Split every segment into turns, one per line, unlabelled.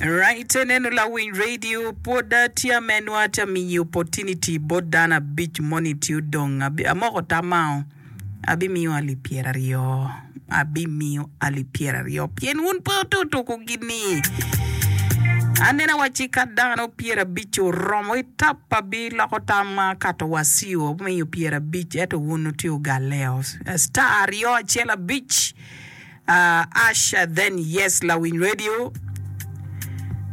Right, eneno lawiny radio pwod tye amenwa tye amiyi opportunity bot dano abic moni tye odong amoko tamao abimiyo alip pyeraryo abimiyo alip pyeraryo pien wun pe wutuko tuko gini aneno awacci ka dano pyerabic oromo itap abiloko tamma kato wa ciu amiyo pyerabic ento wun wutye wugaleo star aryo acel abic Ash then yes lawiny radio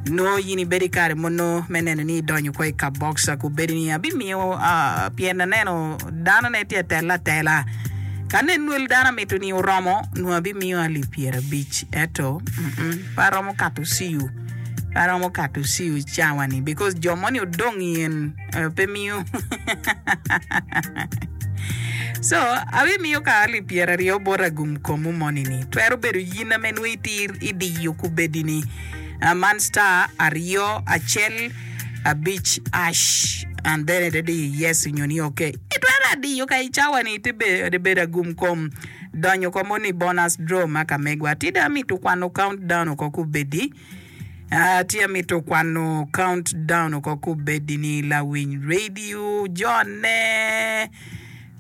nongo in ibedo i kare mono me neno ni idonyo kwo i kabox kubedi ni abimiyo pien aneno dano ne tye atela atela ka nen wel dano amito ni oromo nongo abimiyo alip pyerabic ento pe aromo kato ciu pe aromo kato ciu cawa ni because jo moni odong yen pe miyo So, abimiyo kare alip pyeraryo bot agum komwu moni-ni. Twero bedo yin ame nongo itir idiyo kubedi-ni. Man star aryo acel abic ash and then ite diyo yes nyo ni ok. Itwero adiyo ka i cawa-ni ite bedo agum kom donyo ko moni bonus draw ma ka megwa. Tida amito kwano count down oko kubedi. Atye amito kwano count down oko kubedi ni lawiny radio jone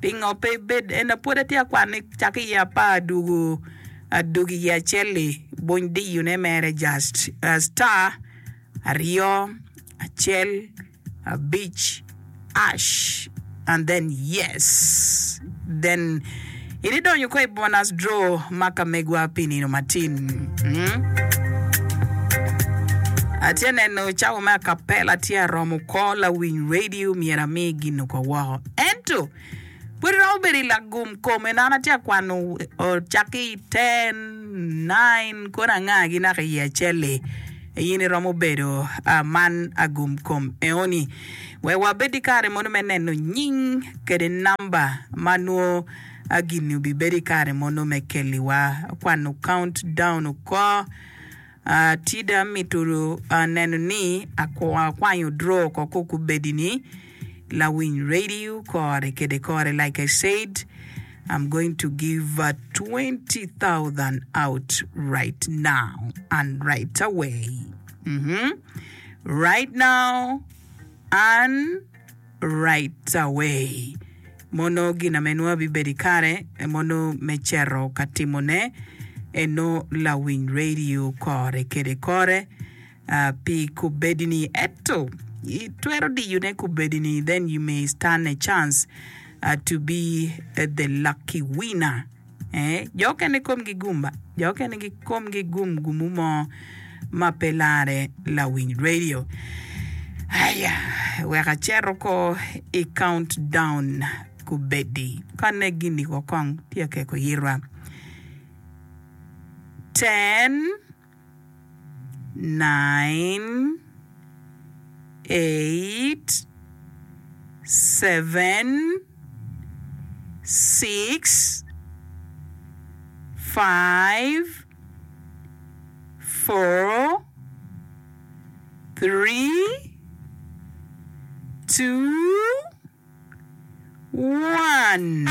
pingo pe ibed ena pwod atye akwano cako iye apar dwogo adwogo iye acel-li buny diyo ne mere just star aryo acel abic ash and then yes then ibidonyo ko i bonus draw ma ka megwa pi nino matin mm? Atye neno cawa me acapella tye aromo ko lawiny radio myero ami gin oko woko ento Pud iromo bedo i lagum kom en an atye ka kwano cakke i ten, nine kono angagi naka i acel-li in iromo bedo man agum kom eoni. Wek wabed ki kare mono me neno nying kede namba ma nwo gin-ni obibedo i kare mono me keliwa kwano count down oko. Atida amito neno ni akwanyo draw oko ko kubedi ni lawiny radio kore kede kore like I said I'm going to give 20,000 out right now and right away mm-hmm. right now and right away. Mono gin ame nongo abibedo i kare mono me cito ka timone eno lawiny radio kore kede kore pi kubedi ni ento itwero diyo ne kubedi ni then you may stand a chance to be the lucky winner. Ee, jo okene komgi gum ba, jo okene komgi gum gumu mo ma pe larre lawiny radio. Aya, wek acet oko i count down kubedi. Ka ne gini ko kong tye akeko yitwa. Ten. Nine, eight, seven, six, five, four, three, two, one.